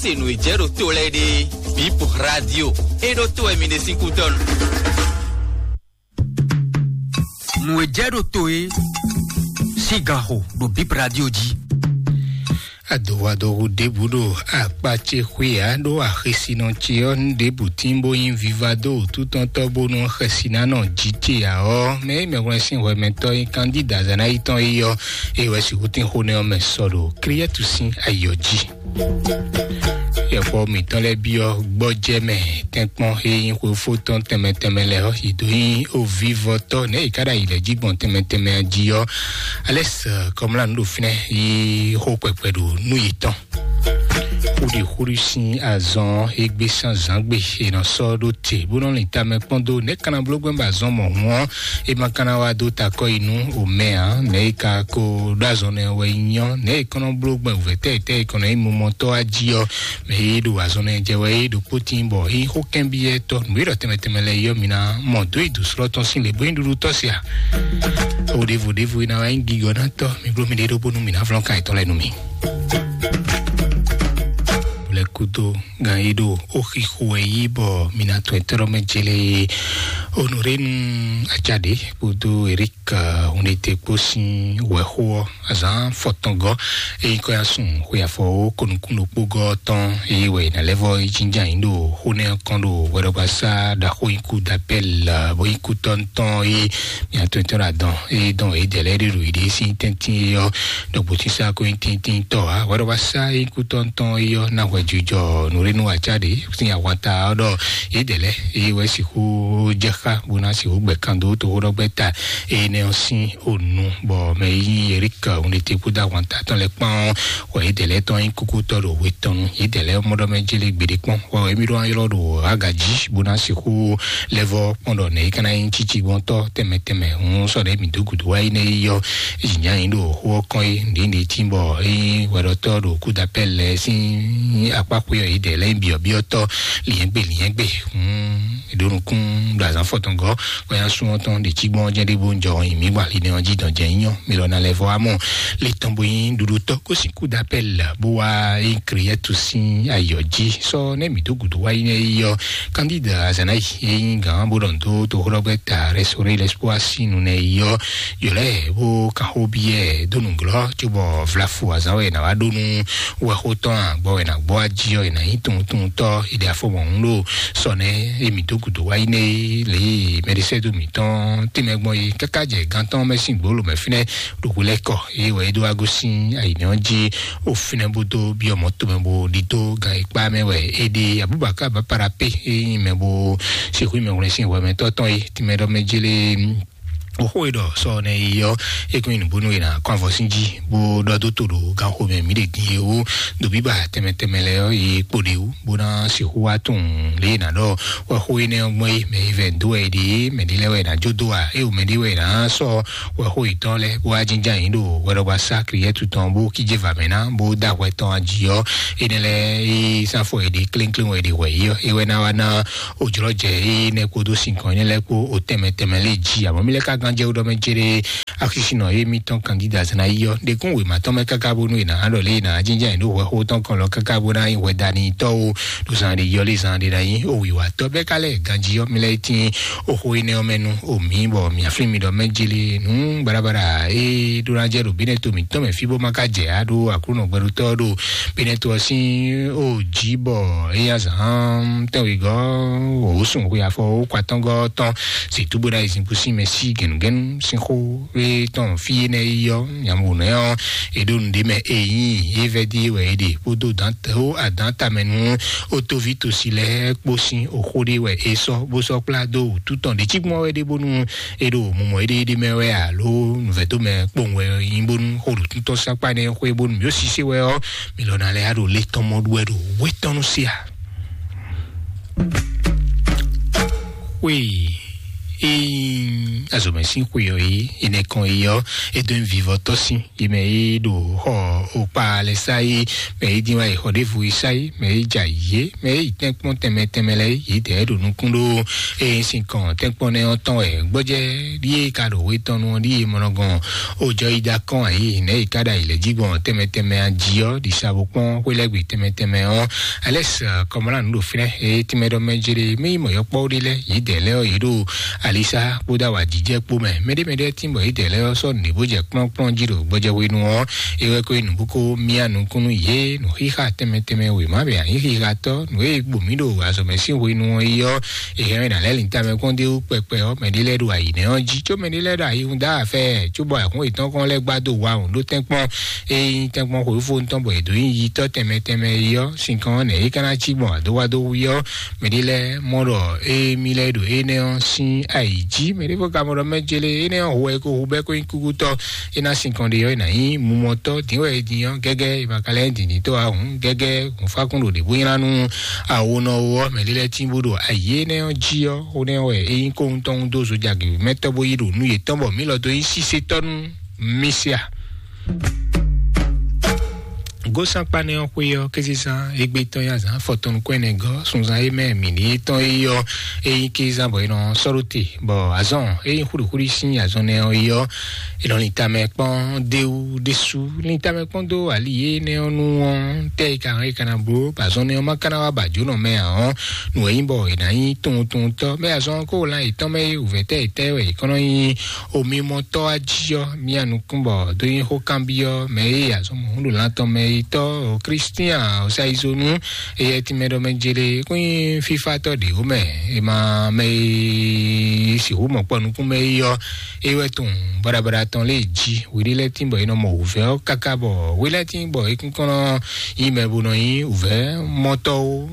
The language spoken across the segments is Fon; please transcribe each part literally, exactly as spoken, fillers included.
Se nǔ e jɛ ɖo to lɛ́ɛ ɖe, Bip Radio, e ɖo to wɛ mi ɖe sín kútɔ́nu. Nǔ e jɛ ɖo to e sín ganxo ɖo Bip Radio jí. Adowadohu ɖěbǔ ɖo akpa ce xwé ǎ ɖó axesinɔ ce ɔ́, nú ɖěbǔ tín bó nyí viva dó wǔtútɔ́ntɔ́ bónú xɛsinánɔ jí ce ǎ ɔ́, mɛ e mɛhwlɛ́n sín hwɛmɛtɔ́ nyí Kandída Zanayi tɔn é ɔ́, é wɛ sixú tín xó nɛ́ ɔ́ mɛ sɔ ɖo Klíɛ́tu sín ayǐ ɔ́ jí. Yɔkpɔ́ mǐtɔn lɛ́ɛ byɔ́ gbɔjɛ́ mɛ tɛ́nkpɔ́n e nyí xwefó tɔn tɛnmɛ tɛnmɛ lɛ́ɛ ɔ́, yě dó nyí ovívɔtɔ́ nɛ̌ yě ká ɖo ayǐ lɛ́ɛ jí gbɔn tɛnmɛ tɛnmɛ jí ɔ́, Alɛ́s Kɔmlá nǔ ɖo fínɛ́ yí xó kpɛkpɛ ɖo nú yětɔn. Xúɖi xúɖi sín azɔn e gbé sín azǎn gbe è nɔ sɔ́ ɖó te bó nɔ lin tamɛ kpɔ́n dó nɛ̌ ka ná bló gbɛ́ bɔ azɔn mɔ̌hun ɔ́, é ma ka ná wá dó takɔ yi nú omɛ ǎ. Nɛ̌ é ka ko ɖó azɔn nɛ́ wɛ nyí ɔ́, nɛ̌ é kɔn nɔ bló gbɛn wǔvɛ́ tɛ́ tɛ́ é kɔn nɔ nyí mumɔtɔ́ wá jí ɔ́, mɛ e ɖo azɔn nɛ́ jɛ wɛ é ɖokpó tín bɔ é nyí xó kɛ́nbyɔ́tɔ́ nǔ e ɖɔ tɛnmɛ tɛnmɛ lɛ́ɛ yi ɔ́, mi ná mɔ dó yi dǒ slɔ́ tɔn sín lě bó nyí ɖuɖu tɔ́ se a? O ɖěvo ɖěvo e ná wá nyí gigɔ́nátɔ́, mi bló mi ɖe ɖó bónú mi ná flɔ́n kan yětɔn lɛ́ɛ nú mi. Lɛ́ kúdó gan yi ɖo ó xixo wɛ yí bɔ mi ná tɔn ɛtɛ́ ɖɔ mɛ jele Honoré nu Ajaɖe kpódó Eric Hunɖete kpó sín wɛxó ɔ́ azǎn fɔtɔngɔ́ e nyí kɔ́yásun xwe afɔ ó konukúnɖokpógɔ́ tɔn e wɛ è nǎ lɛ́ vɔ́ yi jínjɔ́n ayǐ ɖo xó nɛ́ ɔ́ kɔn ɖo hwɛɖɔgbasá ɖaxó nyíkú dapɛ́l bó nyí kútɔ́ntɔn e mia tɔn tɔn adɔn e dɔn e dɛ lɛ́ ɖe ɖo iɖe sín tɛ́ntin e ɔ́ ɖɔgbó sísá ko nyí tíntín tɔ ǎ. Hwɛɖɔgbasá e nyí kútɔ́ntɔn e ɔ́ ná hwɛjijɔ nǔɖénú aca ɖe sín ahwata ɔ́ ɖɔ e dɛ lɛ́ e wɛ sixú jɛ xá bó ná sixú gbɛ kan dó toxóɖɔgbɛ́ ta énɛ́ ɔ́ sín onu, bɔ mɛ e nyí Erik Hunɖete kpódó ahwanta tɔn lɛ́ɛ kpán ɔ́, wɛ yědɛɛ lɛ́ɛ tɔn nyí kúkútɔ́ ɖo hwe tɔn nu. Yědɛɛ lɛ́ɛ mɔ ɖɔ mɛ jélé gbeɖé kpɔ́n, wɛ émí ɖó ylɔ́ ɖo aga jí bó ná sixú lɛ́ vɔ́ kpɔ́n ɖɔ nɛ̌ é ka ná nyí cícigbɔntɔ́ tɛnmɛ tɛnmɛ. Hǔn sɔ ɖě mǐ dó gǔdo wá yi nɛ́ yi ɔ́, jǐnján yǐ ɖo xó ɔ́ kɔn é, nǔɖé nǔɖé tín bɔ é nyí hwɛɖɔtɔ́ ɖo kúdapɛ́ lɛ́ɛ sín akpá xwé ɔ́, yědɛɛ lɛ́ɛ nyí byɔ̌byɔ́tɔ́, lyɛ̌ngbé lyɛ̌ngbé. Hǔn è ɖó nukún ɖo azǎn fɔtɔngɔ́ kɔyásun ɔ́ tɔn ɖě cí gbɔn ɔ́ jɛ́n ɖé bó ń jɔ ɔ́ nyi mǐ gba linɛ ɔ́ jí dɔn jɛ nyí ɔ́, mi lɔ ná lɛ́ vɔ wá mɔ le tɔn bó nyí ɖuɖutɔ́ kó sixú dó apɛ́l bó wá nyí Kriɛ́tu sín ayɔ jí. Sɔ nɛ́ mǐ dó gǔdo wá yi nɛ́ yi ɔ́, Kandíd Azanayi e nyí gǎn bó ɖɔ nǔ dó toxóɖɔgbɛ́ ta Rɛsorí Lɛspoá sín nu nɛ́ yi ɔ́, yǒ lɛ́ɛ bó kan xó byɔ́ ɛ dó nǔglɔ́ cóbɔ vlafu azǎn wɛ è nǎ wá ɖó nú wɛxó tɔn a, gbɔ wɛ è nǎ gbɔ ají ɔ́, è nǎ nyí tunwuntunwuntɔ́, è ɖe afɔ mɔ̌hun ɖo sɔ nɛ́ e mǐ dó gǔdo wá yi nɛ́ é lě e mɛɖisɛ́dó mǐtɔn tɛnmɛ gbɔn é káká jɛ gán tɔn mɛ sín gbolo mɛ fínɛ́ ɖo hwelɛ́kɔ é wɛ é dó wá gosín ayǐnɛ́ ɔ́ jí o fínɛ́ bó dó byɔ́ mɔ̌ tomɛ bó ɖidó gan e kpá mɛ wɛ é ɖe. Abubakar Baparapé é nyí mɛ bó sixú nyí mɛhwlɛ́n sín hwɛmɛtɔ́ tɔn é tɛnmɛ ɖɔ mɛ jélé. Oxó e ɖɔ sɔ nɛ yi ɔ́, é kún nyi nǔbónú e nǎ kɔn avɔ sín jí bó ɖɔ dó to ɖo ganxo mɛ mǐ ɖe din é wú. Ɖo bíbá tɛnmɛ tɛnmɛ lɛ́ɛ ɔ́, yi kpo ɖě wú bó ná sixú wá tunwun lě e è nǎ ɖɔ wɛxó énɛ́ ɔ́ gbɔn é, mɛ yi vɛ dó wɛ è ɖe é, mɛ ɖé lɛ́ɛ wɛ è nǎ jó dó a, é o mɛ ɖé wɛ è nǎ sɔ́ wɛxó yětɔn lɛ́ɛ bó wá jínjɔ́n ayǐ ɖo hwɛɖɔgbasá Kriɛ́tu tɔn bó kíjé va mɛ ná bó dó ahwɛ tɔn jí ɔ́, énɛ́ lɛ́ɛ é sán fɔ è ɖe kléŋkléŋ wɛ è ɖe hwɛ yě ɔ́, é wɛ ná wá ná o jlɔ́ jɛ énɛ́ kpódó sinkɔn énɛ́ lɛ́ɛ kpó o tɛnmɛ tɛnmɛ lɛ́ɛ jí. Amɔ̌ mì lɛ́ ka gán jɛ ɖɔ mɛ céɖé axisínɔ émítɔn Kandída Zanayi ɔ́ ɖe kún wěma tɔn mɛ káká bónú è nǎ ɖɔ lě e è nǎ jínjɔ́n ayǐ ɖo hwɛxó tɔn kɔn lɔ káká bó ná nyí hwɛdanitɔ́ o ɖo zan ɖe yɔ́ lé zan ɖe ná nyí o wǐwatɔ́ bɛ́ ká lɛ́ ganjí ɔ́, mì lɛ́ tín o xó énɛ́ ɔ́ mɛ nú o mǐ bɔ mǐ aflín mi ɖɔ mɛ jélé nǔ baɖabaɖa e ɖó ná jɛ ɖo bínɛ́ to mǐtɔn mɛ fí bó má ka jɛ á ɖó Aklúnɔ gbɛɖotɔ́ ɖo bínɛ́ to ɔ́ sín o jí bɔ é nyí azǎn tɛ́nwegɔ́ wǒsùn xwe afɔ ó kwatɔ́ngɔ́ tɔn sixú bó ɖo ayǐzinkpo sín mɛ sí gɛ̌nugɛ̌nu sín xó e tɔn fí énɛ́ yi ɔ́, nyambo nɛ́ ɔ́, è ɖo nǔɖé mɛ e nyí é vɛ́ dí wɛ é ɖe kpódó dǎn tó adǎn tamɛ nú ó tóví tosi lɛ́ɛ kpó sín oxó ɖé wɛ é sɔ́ bó sɔ́ kplá dó wǔtu tɔn ɖě cí gbɔn wɛ ɖé bónú é ɖo mumɔ éɖééɖé mɛ wɛ alo nǔvɛ́tɔ́ mɛ kpowun wɛ nyí bónú xó ɖo tún tɔn sákpá nɛ́ xwé bónú mǐ ó sisé wɛ ɔ́, mǐ lɔ ná lɛ́ ɖo lé tɔn mɔ ɖu wɛ ɖo wé tɔn nú sí a? Xwé Ee, azɔ̌mɛ sín xwe ɔ́ é, enɛkɔn é ɔ́, é dó nyí vivɔtɔ́ sín, yi mɛ é ɖo xɔ okpá lɛ sá é, mɛ é dín wá yi xɔ ɖěvo é sá é, mɛ é jɛ ayǐ é, mɛ é yi tɛ́nkpɔ́n tɛnmɛ tɛnmɛ lɛ́ɛ é, yě dɛɛ ɖo nukún ɖó. Ee, sinkɔn tɛ́nkpɔ́n nɛ́ ɔ́ tɔn wɛ gbɔ́jɛ́ ɖíe ka ɖo we tɔn nu ɔ́ ɖíe mɔnɔgɔn. Ojɔ yi da kɔn ayǐ nɛ̌ yi ka ɖo ayǐ lɛ́ jí gbɔn tɛnmɛ tɛnmɛ a jí ɔ́, ɖi sa bo kpɔ́n xwé lɛ́ gbe tɛnmɛ tɛnmɛ ɔ́. Alɛs kɔmɔlanu ɖo fínɛ́, eye tínmɛ ɖɔ mɛ jere mɛ yi mɔ yɔkpɔ́ ɖé lɛ́ɛ, yě dɛɛ lɛ́ɛ ɔ́, yě ɖo alisa kpódó awǎjijɛ kpó mɛ. Mɛɖé mɛɖé tín bɔ yě dɛɛ lɛ́ɛ ɔ́ sɔ́ nǔɖé bó jɛ kplɔ́nkplɔ́n jí ɖo gbɔjɛhwenu ɔ́, é wɛ ko nyí nǔ bó ko myá nukúnnú yě nǔ xixa tɛnmɛ tɛnmɛ wěma bɛ anyí xixatɔ́ nǔ e gbo mǐ ɖo azɔ̌ mɛ sín hwenu ɔ́ yi ɔ́, è hɛn ná lɛ́ linta mɛ kpɔ́n dé wú kpɛkpɛ ɔ́, mɛɖé lɛ́ɛ ɖo ayǐ nɛ́ ɔ́ jí, có mɛɖé lɛ́ɛ ɖo ayihún dó afɛ, cóbɔ ayǐhún yětɔn kɔn lɛ́ gbá dó wa wǔ ɖó tɛ́nkpɔ́n. Ényí tɛ́nkpɔ́n xweyífo tɔn bɔ è dǒ nyi yitɔ́ tɛnmɛ tɛnmɛ é ɔ́, sinkɔn ɔ́ nɛ̌ é ka ná cí gbɔn adówádó wú ɔ́, mɛɖé lɛ́ɛ mɔ ɖɔ émí lɛ́ɛ ɖo énɛ́ ɔ́ sín ayǐ jí. Mɛɖé fó ka mɔ ɖɔ mɛ jele énɛ́ ɔ́ hu wɛ é ko hu bɛ́ kó nyí kúkútɔ́, é ná sinkɔn ɖe ɔ́, é ná nyí mumɔtɔ́, dǐn wɛ é din ɔ́, gɛ́gɛ́ è ma ka lɛ́ nyí dǐndíntɔ́ ǎ hǔn, gɛ́gɛ́ hǔnfákún ɖo ɖě bó nylá nú awonɔ ó ɔ́, mɛɖé lɛ́ɛ tín bó ɖo ayǐ énɛ́ ɔ́ jí ɔ́, xó nɛ́ wɛ é nyí kóhun tɔn dó zojagě mɛtɔ́ bó yí ɖo nú yětɔn bɔ mǐ lɔ dó nyí sísétɔ́ nú Misia. Gósankpanɛ ɔ́ xwé ɔ́, kézezán égbé tɔn nyi azǎn afɔtɔn nukún ɛnɛ gɔ́, sunzan e mɛ mǐ ní tɔn é ɔ́, é nyí kézán bɔ è nɔ sɔ́ ɖó te, bɔ azɔn e nyí xúɖixúɖi sín azɔn nɛ ɔ́ é ɔ́, è nɔ lin tamɛ kpɔ́n déwú ɖésú, lin tamɛ kpɔ́n dó ali énɛ́ ɔ́ nu ɔ́, tɛ́ e ka hɛn é ka ná bló, bɔ azɔn nɛ ɔ́ ma ka ná wá ba jǒnɔ mɛ ǎ ɔ́, nǔ e nyí bɔ è nǎ nyí tunwuntunwuntɔ́. Mɛ azɔn kó lan yětɔn mɛ é wǔvɛ́ tɛ́ yětɔn wɛ è kɔn nɔ nyí omimɔtɔ́ wá jí ɔ́, mía nukún bɔ dó nyí xó kanbyɔ́ mɛ e azɔn mɔ̌hún ɖo lan tɔn mɛ yi tɔ́ Kristian Osayizonu, eyɛ tínmɛ ɖɔ mɛ jele kún nyí fífátɔ́ ɖě ó mɛ, è ma mɛ e sixú mɔ kpɔ nukún mɛ yi ɔ́, é wɛ tunwun baɖabaɖa tɔn lé jí. Hweɖé lɛ́ɛ tín bɔ è nɔ mɔ wǔvɛ́ ɔ́ káká bɔ hwe lɛ́ɛ tín bɔ é kún kɔn nɔ nyí mɛ bó nɔ nyí wǔvɛ́ mɔtɔ́ ó.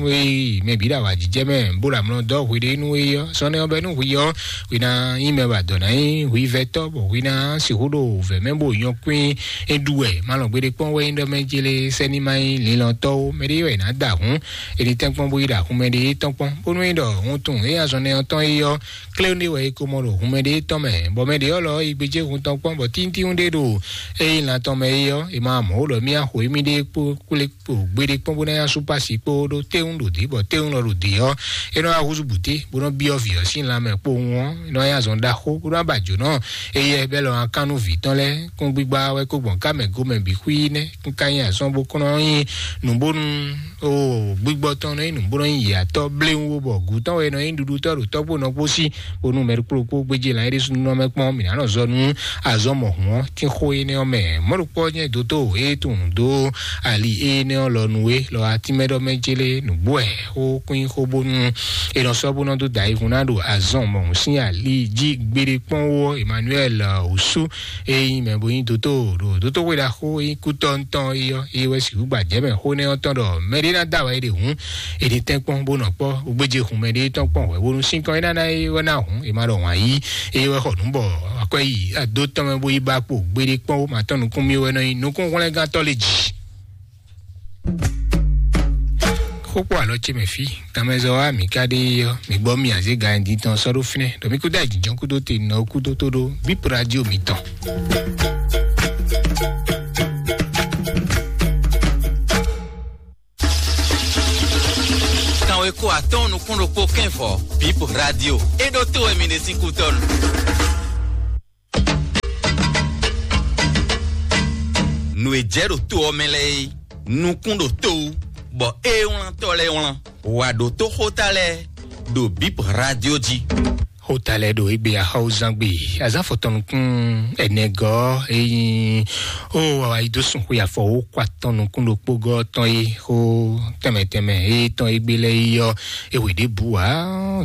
Ée mɛ bǐ ɖo awǎjijɛ mɛ bó ɖo amlɔ dɔ́ hweɖénu é ɔ́, sɔ́nɛ ɔ́ bɛ́ nú hwi ɔ́, hwi ná nyí mɛ ba dɔ̌ ná nyí hwivɛ́tɔ́, bɔ hwi ná sixú ɖo wǔvɛ́ mɛ bó nyɔ́ kwín é ɖu wɛ. Malɔ́ gbeɖé kpɔ́n wɛ nyí ɖɔ mɛ jele sɛ́ni ma nyí linlɔtɔ́ ó, mɛɖé wɛ è nǎ da hǔn, è ní tɛ́nkpɔ́n bó yi ɖo ahun mɛɖé tɔn kpɔ́n, bónú é ɖɔ wuntun é azɔn nɛ́ ɔ́ tɔn é ɔ́, kléwún ɖé wɛ é ko mɔ ɖo hun mɛɖé tɔn mɛ, bɔ mɛɖé ɔ́ lɔ yi gbéjé hun tɔn kpɔ́n, bɔ tíntín ɖé ɖo é nyí lan tɔn mɛ é ɔ́, è ma mɔ ó ɖɔ mì axo émí ɖé kpó kplé kpo gbeɖé kpɔ́n bó ná nyá súpasi kpó ɖó téwún ɖo dě, bɔ téwún lɔ ɖo dě ɔ́, é nɔ wá húzú bǔté bó nɔ byɔ́ vǐ ɔ́ sín lanmɛ kpowun ɔ́, é nɔ wá nyí azɔn ɖaxó bó nɔ wá ba jǒnɔ éyɛ́ bɛ́ lɔ akán nú vǐ tɔn lɛ́ɛ. Kún gbígbá wɛ kó gbɔn ká mɛ gomɛ bǐ xwí nɛ́, kún ka nyí azɔn bó kɔn nɔ nyí nǔbónú o gbígbɔ tɔn nɔ nyí nǔbónú nyí yǎtɔ́ bléwún bɔ gǔ tɔn wɛ nɔ nyí ɖuɖutɔ́ ɖo tɔ́gbó nɔ kpó sí, bónú mɛ ɖokpó ɖokpó gbéjé lan é ɖésú nɔ mɛ kpɔ́n mǐ ná nɔ zɔ nú azɔn mɔ̌hun ɔ́, tín xó énɛ́ ɔ́ mɛ. Mɔ̌ ɖokpó ɔ́ nyɛ dǒtó e tunwun dó ali énɛ́ ɔ́ lɔ nú é lɔ atínmɛ ɖɔ mɛ jélé nǔgbó wɛ xó kún xó bónú è nɔ sɔ́ bó nɔ dó da ayihún ná ɖo azɔn mɔ̌hun sín ali jí gbeɖé kpɔ́n wú ɔ́, Emmanuel Osu e nyí mɛ bo nyí dǒtó ɖo dǒtó xwé ɖaxó e nyí kútɔ́ ŋutɔn é ɔ́, é wɛ sixú gbajɛmɛ xó nɛ́ ɔ́ tɔn ɖɔ mɛɖé ná dó awɛ ɖe hǔn, è nǐ tɛ́n kpɔ́n bó nɔ kpɔ́, bó gbéjé hun mɛɖé tɔn kpɔ́n hwɛ̌, bónú sínkɔn é ná ná é wɛ ná hun, è ma ɖɔ wǎn yí, é wɛ xɔ nǔ bɔ akwɛ́ yi adó tɔn mɛ bó yi ba kpo gbeɖé kpɔ́n bó ma tɔn nukún mì wɛ nɔ nyí nukúnhwlɛ́ngántɔ́ lé jǐ. Xókpó alɔ ce mɛ fí, tamɛzɔ wa mǐ ká ɖe ɔ́, mǐ gbɔ mì azé ga ɛ din tɔn sɔ́ ɖó fínɛ́, ɖɔ mí kúdó ajǐjɔ́n kúdó te nɔ kúdó tó ɖó bíp radio mǐtɔn. Kanwe ko atɔn nukún ɖokpó kɛnfɔ bíp radio. E ɖo to wɛ mi ɖe sín kútɔnu. Nǔ e jɛ ɖo to ɔ́ mɛ lɛ́ɛ é, nukún ɖo to wú, bɔ ée wlántɔ́ lɛ́ɛ wlán. Wǎ ɖo tó xóta lɛ́ɛ ɖo bíp radio jí. Xóta lɛ́ɛ ɖo égbé axɔ́wúzán gbe azán fɔtɔnukún ɛnɛgɔ́ eyín ó wàwá yi dó sun xwe afɔ wó kó atɔn nukún ɖokpó gɔ́ tɔn é xó tɛmɛ tɛmɛ é tɔn égbé lɛ́ɛ yi ɔ́, ewě ɖěbǔ ǎ.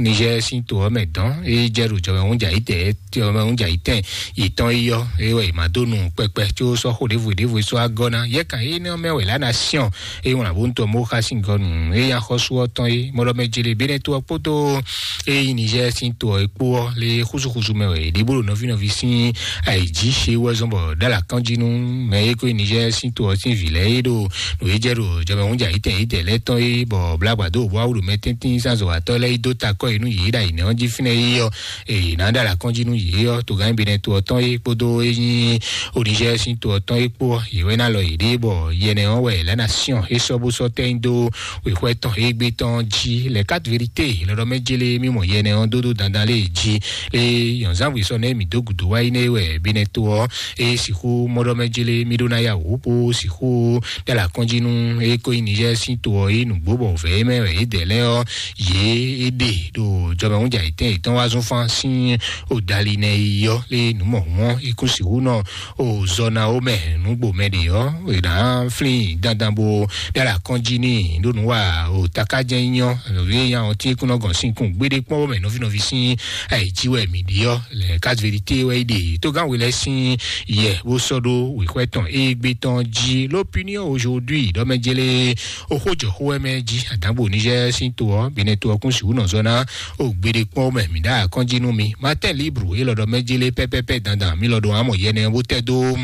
Nizɛ́ɛ sín to ɔ́ mɛ dɔn é jɛ ɖo jɔmɛ húnjà yi tɛ jɔmɛ húnjà yi tɛn yětɔn yi ɔ́, é wɛ è ma dó nu kpɛkpɛ có sɔ́ xó ɖěvo ɖěvo é sɔ́ wá gɔ́ ná. Yɛ kan énɛ́ ɔ́ mɛ wɛ lǎ ná syɔ́n é wlǎn bó ŋutɔ mó xá sín gɔ́ nu é nyí axɔ́sú ɔ́ tɔn é mɔɖɔmɛ jele bénɛ́ tó ɔ́ kpódó é nyí Nizɛ́ɛ sín to ɔ́ é kpó ɔ́ lé xúsúxúsú mɛ wɛ è ɖe bó ɖo nɔví nɔví sín ayǐjí ṣe wɛ zɔn bɔ ɖó alakánjí nú mɛ e ko nyí Niger sín to ɔ́ sín vǐ lɛ́ɛ é ɖo nǔ e jɛ ɖo jɔmɛhúnjà yítɛn yítɛn lɛ́ɛ tɔn é bɔ blágbadó bó awu ɖo mɛ tɛ́ntín sín azɔ̌watɔ́ lɛ́ɛ yi dó takɔ e nú yě ɖo ayǐnɛ́ ɔ́ jí fínɛ́ é ɔ́, è nǎ ɖó alakánjí nú yě ɔ́, togán Benɛto ɔ́ tɔn é kpódó é nyí Niger sín to ɔ́ tɔn é kpó ɔ́, yě wɛ ná lɔ yěɖée bɔ yɛnɛ ɔ́ wɛ lɛ̌ ná syɔ́n é sɔ́ bó sɔ́ tɛ́ nyi dó wěxwɛ́ tɔn égbé tɔn jí. Les quatre vérités lɔɖɔ mɛ jélé mí mɔ yɛnɛ ɔ́ dó dó dandan lé jí lé yɔ̌nzánwǐ sɔ nɛ́ mǐ dó gǔdo wá yi nɛ́ wɛ Benɛto ɔ́ é sixú mɔɖɔ mɛ jélé mí ɖó ná ya wǔ bó sixú ɖó alakɔ́njí nú é ko nyí Niger sín to ɔ́ é nǔgbó bɔ vɛ̌ é mɛ wɛ é dɛ̌ lɛ́ɛ ɔ́ yě é ɖe ɖo jɔmɛhúnjà yětɛn yětɔn wá zún fán sín odali nɛ yi ɔ́ lé nǔ mɔ̌hun ɔ́ é kún sixú nɔ o zɔ ná ó mɛ nǔgbó mɛ ɖě ɔ́ è nǎ flín dandan bó ɖó alakɔ́njí n'i ɖó nǔ wa o takájɛ nyɔ nɔví e nya ɔ́ tí é kún nɔ gɔn sín kún gbéɖé kpɔ́n ó mɛ nɔví nɔví sín ayǐjí wɛ mǐ ɖi ɔ́ lɛ quatre vérité wɛ é ɖe tógán we lɛ́ɛ sín yɛ bó sɔ́ ɖó wěxwɛ́ tɔn égbé tɔn jí. L'Opinion aujourd'hui ɖɔ mɛ jélé o xó jɔ xó wɛ mɛ jí àdǎgbò Niger sín to ɔ́ Benɛto ɔ́ kún sixú nɔ zɔ ná o gbéɖé kpɔ́n ó mɛ mǐ ɖó akɔ́njí nú mi. Matin Libre é lɔ ɖɔ mɛ jélé pɛ́pɛ́pɛ́ dandan mí lɔ ɖo amɔ yɛnɛ bó tɛ́ dó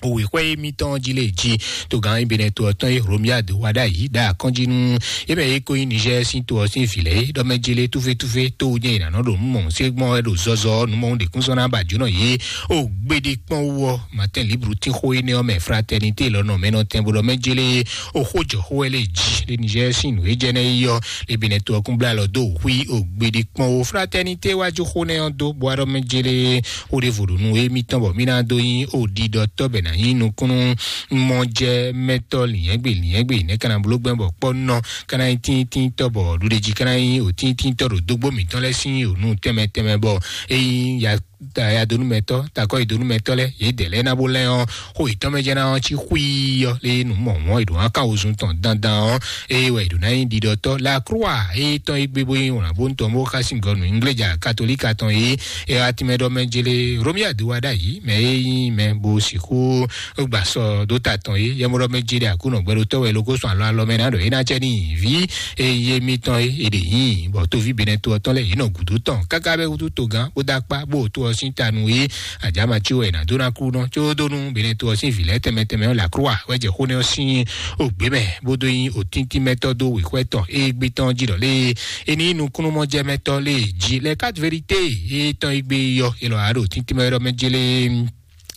òwe xwɛ émítɔn jí lé jí togán Benɛto ɔ́ tɔn e Romuald wá ɖ'ayǐ ɖo akɔ́njí nú é mɛ e ko nyí Niger sín to ɔ́ sín vǐ lɛ́ɛ é ɖɔ mɛ jí lé túfétúfé tó wú nyɛ è nǎ nɔ ɖo nǔ mɔ̌ sé gbɔn wɛ ɖo zɔzɔ nǔ mɔ̌ ɖě kún sɔ́ ná ba jǒnɔ yě o gbéɖé kpɔ́n wú ɔ́. Matin Libre tín xó énɛ́ ɔ́ mɛ fraternité lɔ nɔ mɛ nɔ tɛn bó ɖɔ mɛ jí lé o xó jɔ xó wɛ lé jí lé Niger sín nǔ e jɛ nɛ́ yi ɔ́ lé Benɛto ɔ́ kún blá lɔ dó xwí o gbéɖé kpɔ́n wú fraternité wá jó xó nɛ́ ɔ́ dó bó wá ɖɔ mɛ jí lé xó ɖěvo ɖo nú émítɔn bɔ mí ná dó nyí oɖiɖɔtɔ́ bɛ ná nyí nukúnnú mɔjɛmɛtɔ́ lǐnyɛ́gbe lǐnyɛ́gbe nɛ́ ka ná bló gbɛ́ bɔ kpɔ́nɔ ka ná nyí tíntínntɔ́ bɔ ɖuɖéjí ka ná nyí òtíntínntɔ́ ɖo dógbó mǐtɔn lɛ́ɛ sín ònú tɛnmɛ tɛnmɛ bɔ é nyí ya yadonúmɛtɔ́ takɔ́yidonúmɛtɔ́ lɛ́ɛ yě dɛ̌ lɛ́ɛ ná bó lɛ́ ɔ́ xó yětɔn mɛ jɛ́n ná ɔ́ cí xwíí ɔ́ lé nǔ mɔ̌ mɔ̌ è ɖǒ ná kan wozun tɔn dandan ɔ́ eye wɛ è ɖǒ ná nyí ɖiɖɔtɔ́ la croix eye tɔn é gbé bó nyí wlǎn bó tɔn bó xá sín gɔnu ingléja katolíka tɔn é é wá tínmɛ ɖɔ mɛ jélé Romuald wá ɖ'ayǐ mɛ é nyí mɛ bó sixú gbà sɔ dó ta tɔn é yɛmɔɖɔ mɛ jélé Aklúnɔ gbɛɖotɔ́ wɛ lókó sɔn alɔ alɔ mɛ ná ɖɔ é ná cɛ ní vǐ eye mitɔn é è ɖě nyí bɔ tóví Benɛto ɔ́ tɔn lɛ́ɛ yě nɔ gǔdo tɔn káká bɛ́ wútu togán bó dó akpá bó to ɔ́ sín ta nú é àjǎmací wɛ è nǎ dó ná kú nɔ có dó nú Benɛto ɔ́ sín vǐ lɛ́ɛ tɛnmɛ tɛnmɛ ɔ́ la croix wɛ jɛ xó nɛ́ ɔ́ sín ògbé mɛ bó dó nyí òtíntímɛtɔ́ dó wěxwɛ́ tɔn égbé tɔn jí ɖɔ lé é ní nukúnnú mɔjɛmɛtɔ́ lé jí lɛ quatre vérité é tɔn égbé yɔ é lɔ á ɖo tíntímɛ ɖɔ mɛ jélé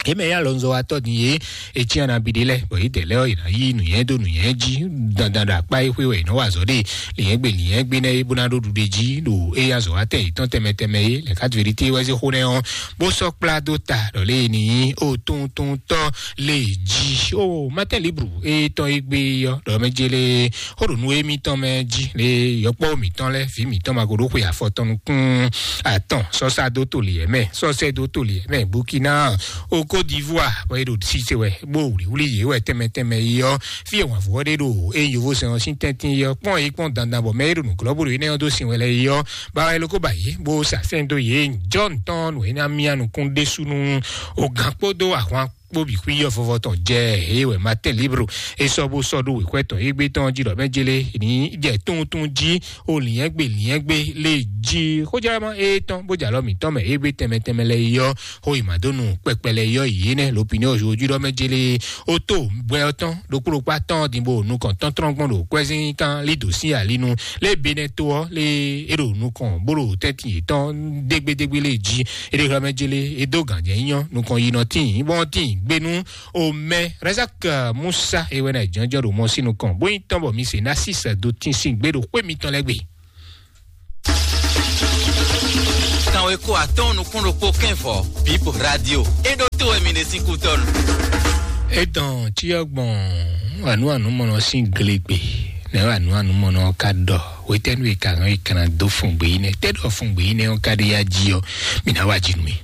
é mɛ yá lɔnzɔ wa tɔ́ din é é cí ana bi ɖé lɛ bɔ é dɛ̌ lɛ́ ɔ́ è nǎ yí nǔnyɛ dó nǔnyɛ jí dandan ɖo akpá é xwé wɛ è nɔ wa azɔ̌ ɖe lǐnyɛ́gbe lǐnyɛ́gbe nɛ́ é bó ná ɖó ɖuɖe jí ɖo é yá zɔ wá tɛ yětɔn tɛnmɛ tɛnmɛ é lɛ quatre vérité wɛ zé xó nɛ́ ɔ́ bó sɔ́ kplá dó ta ɖɔ lé ní ó tuntun tɔ́ lé jí ó Matin Libre é tɔn é gbé ɔ́ ɖɔ mɛ jélé xó ɖo nú émítɔn mɛ jí lé yɔkpɔ́ mǐtɔn lɛ́ɛ vǐ mǐtɔn ma ko ɖó xwe afɔ tɔn nukún atɔn sɔ́sá dó toli ɛmɛ sɔ́sɛ dó toli ɛmɛ Burkina o Côte d'Ivoire bɔ é ɖo sise wɛ bó wlǐwlí yě wɛ tɛnmɛ tɛnmɛ yi ɔ́ fí e wǎnvú ɔ́ ɖe ɖo é yovósɛn ɔ́ sín tɛ́ntin yi ɔ́ kpɔ́n yi kpɔ́n dandan bɔ mɛ é ɖo nǔglɔ́ bó ɖo énɛ́ ɔ́ dó sin wɛ lɛ́ɛ yi ɔ́ ba wɛ lóko ba yě bó sa sɛ́n dó yě jɔ́n tɔn nǔ é ná mía nukún ɖésú nú o gǎn kpódó ahwan kpó bǐ xwí yɔ vɔvɔ tɔn jɛ eye wɛ Matin Libre é sɔ́ bó sɔ́ ɖó wěxwɛ́ tɔn égbé tɔn jí ɖɔ mɛ jélé ní jɛ tuntun jí o lǐnyɛ́gbe lǐnyɛ́gbe lé jí xójálama é tɔn bó jalɔ mǐtɔn mɛ égbé tɛnmɛ tɛnmɛ lɛ yɔ xó yi ma dó nu kpɛkpɛ lɛ yɔ yě nɛ lopinɛ ojú jí ɖɔ mɛ jélé ó tó gbɛ ɔ́ tɔn ɖokpó ɖokpá tɔn din bó nukɔn tɔntɔn gbɔn ɖo kwɛzín kan lí dǒ sín alinu lé Benɛto ɔ́ lé é ɖo nukɔn bó ɖo tɛ́ntin yětɔn dégbédégbé lé jí é ɖe xlɛ́ mɛ jélé é dó gǎnjɛ nyɔ nukɔn yi nɔ tíin bɔn tíin gbénú o mɛ Razak Musa é wɛ ná jɔnjɔn ɖo mɔ sín nukɔn bó nyí tɔn bɔ mi se ná sísɛ dó tín sín gbé ɖo xwé mitɔn lɛ́ɛ gbe. Kanweko atɔ́ɔ́n nukún ɖokpó kɛ́n vɔ Bip Radio é ɖó tó wɛ mi ɖe sín kútɔ́nu. Etɔn cyɔ gbɔn anu anu mɔnɔ sín glegbe nɛ anu anu mɔnɔ ka ɖɔ wetɛnu e ka hɔn e kana dó fun gbe yi nɛ tɛ ɖɔ fun gbe yi nɛ ɔn ka ɖe ya ji ɔ mi na wa ji nu mi.